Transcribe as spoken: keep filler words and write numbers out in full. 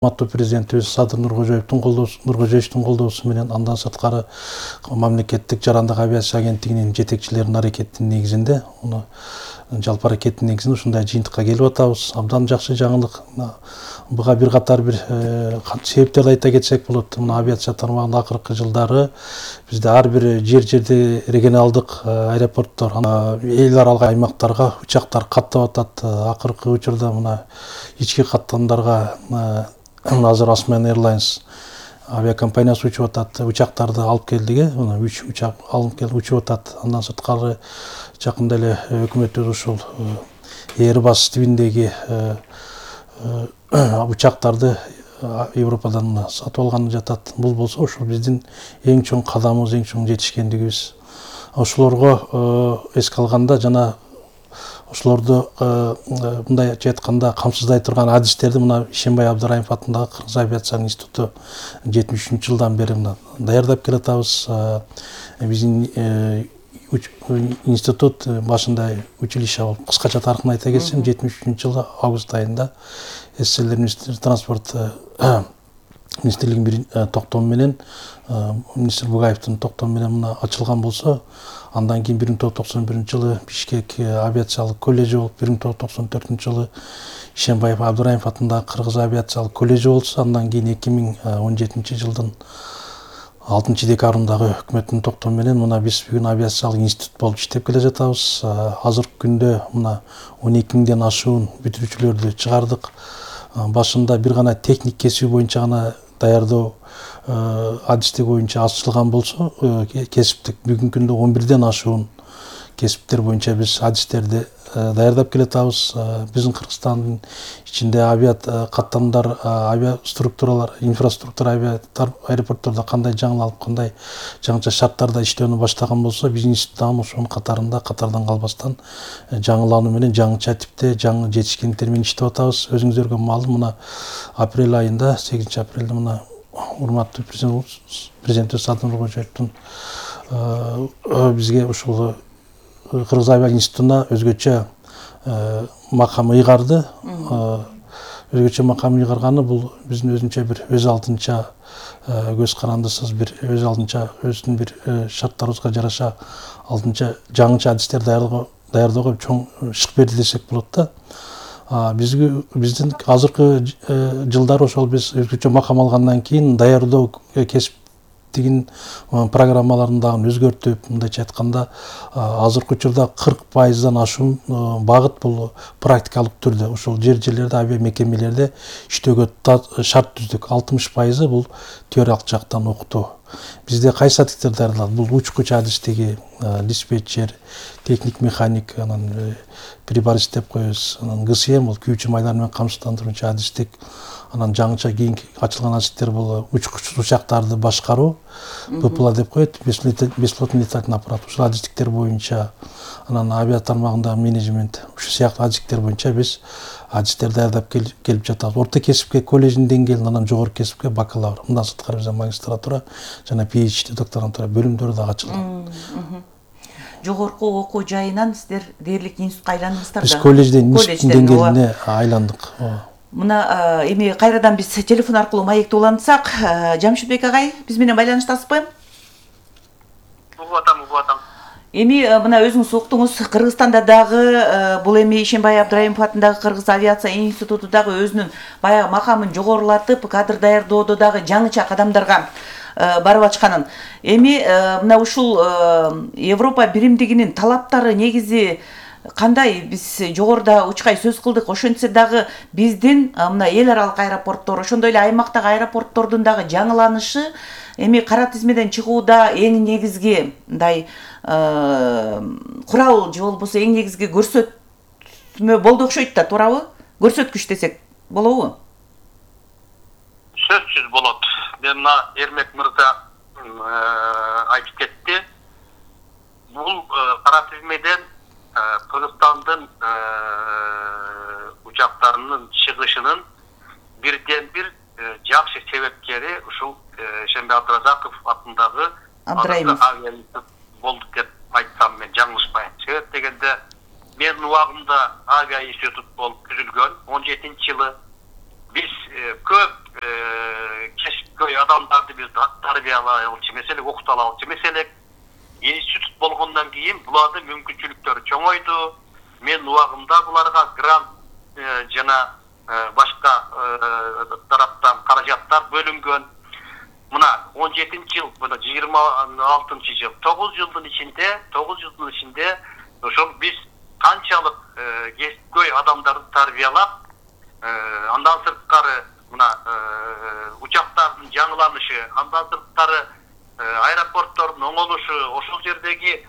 Урматтуу президентибиз Садыр Нуркожоевдун колдоосу Нуркожоевдун колдоосу менен андан сырткары мамлекеттик жарандык авиация агенттигинин жетекчилеринин аракетинин негизинде, уну жалпы аракеттин негизинде ушундай жыйынтыкка келип атабыз. Абдан жакшы жаңылык. Буга бир катар бир себептерди айта кетсек болот. Мына авиация тармагында акыркы жылдары бизде ар бир жер жерде регионалдык аэропорттор, эл аралык аймактарга учактар каттап атат. Акыркы учурда мына ички каттамдарга азыр Osman Airlines авиакомпаниясы учуп атат, учактарды алып келдиге, мына үч учак алып келип учуп атат. Андан сырткары жакында эле өкмөтүбүз ушул Airbus тибиндеги учактарды Европадан сатып алганы жатат. Бул болсо ушул биздин эң чоң кадамыбыз, эң чоң жетишкендигибиз. Ошолорго эске алганда жана ошолорду мындай айтканда камсыздай турган адистерди мына Ишенбай Абдыраимов атындагы Кыргыз авиация институту жетимиш үчүнчү жылдан бери мына даярдап келатабыз. Биздин институт башында училище болуп, кыскача тарыхын айта кетсем, жетимиш үчүнчү жылы август айында СССР министр транспорт министрлигинин токтому менен, министр Бугаевдин токтому менен мына ачылган болсо, андан кийин бир миң тогуз жүз токсон биринчи жылы Бишкек авиациялык колледжи болуп, бир миң тогуз жүз токсон төртүнчү жылы Ишенбаев Абдыраимов атындагы Кыргыз авиациялык колледжи болсо, андан кийин эки миң он жетинчи жылдын алтынчы декабрындагы өкмөттүн токтому менен мына биз бүгүн авиациялык институт болуп иштеп келе жатабыз. Азыркы күндө мына он эки миңден ашуун бүтүрүүчүлөрдү чыгардык. Башында бир гана техник кесиби боюнча гана даярдоо адистиги боюнча ачылган болсо, кесиптик бүгүнкү күндө он бирден ашуун кесиптер боюнча биз адистерди даярдап келатабыз. Биздин Кыргызстандын ичинде авиа каттамдар, авиа структуралар, инфраструктура авиа аэропорттордо кандай жаңыланып, кандай жаңыча шарттарда иштөөнү баштаган болсо, биздин институт дагы ошонун катарында катардан калбастан жаңылануу менен жаңыча типте жаңы жетишкендиктер менен иштеп атабыз. Өзүңүздөргө маалым, мына апрель айында, сегизинчи апрелде мына урматтуу президентибиз Садыр Нуркожоевдун бизге ушул Кыргыз авиа институтуна өзгөчө макам ыйгарды. Өзгөчө макам ыйгарганы бул биздин өзүнчө бир өз алдынча көз карандысыз бир өз алдынча өзүнүн бир шарттарыбызга жараша алдынча жаңыча адистер даярдоого чоң шык берди десек болот да. Бизге биздин азыркы жылдары ошол биз өзгөчө макам алгандан кийин даярдоо кесиптигин программаларын дагы өзгөртүп, мындайча айтканда, азыркы учурда кырк пайыздан ашуун багыт бул практикалык түрдө ошол жер-жерлерде, авиа мекемелерде иштөөгө шарт түздүк. алтымыш пайызы бул теориялык жактан окутуу. Бизде кайсы адистер даярдалат? Бул учкуч адистиги, диспетчер, техник механик, анан приборист деп коебуз, анан ГСМ бул күйүүчү майлар менен камсыздандыруучу адистик, анан жаңыча кийинки ачылган адистер бул учкуч учактарды башкаруу, БПЛА деп коет, бесплотный летательный аппарат. Ушул адистиктер боюнча, анан авиа тармагында менеджмент, ушул сыяктуу адистиктер боюнча биз адистер даярдап келип жатабыз. Орто кесипке колледждин деңгээлинде, анан жогорку кесипке бакалавр. Мындан сырткары бизде магистратура жана PhD докторантура бөлүмдөрү дагы ачылган. Жогорку окуу жайынан сиздер дээрлик институтка айландыңыздар да? Биз колледжден институттун деңгээлине айландык. Мына эми кайрадан биз телефон аркылуу маекти улантсак, Жамшитбек агай, биз менен байланыштасызбы? Угуп атам, угуп атам. Эми мына өзүңүз уктуңуз, Кыргызстанда дагы бул эми Ишенбай Абдыраимов атындагы Кыргыз авиация институту дагы өзүнүн баягы макамын жогорулатып, кадр даярдоодо дагы жаңыча кадамдарга барып ачканын. Эми мына ушул Европа биримдигинин талаптары негизи кандай? Биз жогоруда учкай сөз кылдык. Ошентсе дагы биздин мына эл аралык аэропорттор, ошондой эле аймактагы аэропорттордун дагы жаңыланышы эми кара тизмеден чыгууда эң негизги мындай курал же болбосо эң негизги көрсөтмө болду окшойт да, туурабы? Көрсөткүч десек болобу? Сөзсүз болот. Мен мына Эрмек мырза айтып кетти. Бул кара тизмеден Кыргызстандын учактарынын чыгышынын бирден бир жакшы себепкери ушул Ишенбай Абдыразаков атындагы Абдыраимов авиа институт болду деп айтсам мен жаңылышпайм. Себеп дегенде мен убагында авиа институт болуп түзүлгөн он жетинчи жылы биз көп адамдарды биз тарбиялай алчу эмес элек, окута алчу эмес элек. Институт болгондон кийин булардын мүмкүнчүлүктөрү чоңойду. Мен убагымда буларга грант жана башка тараптан каражаттар бөлүнгөн. Мына он жетинчи жыл, мына жыйырма алтынчы жыл, тогуз жылдын ичинде, тогуз жылдын ичинде ошол биз канчалык кесипкөй адамдарды тарбиялап, андан сырткары мына учактардын жаңыланышы, андан сырткары аэропорттордун оңолушу, ошол жердеги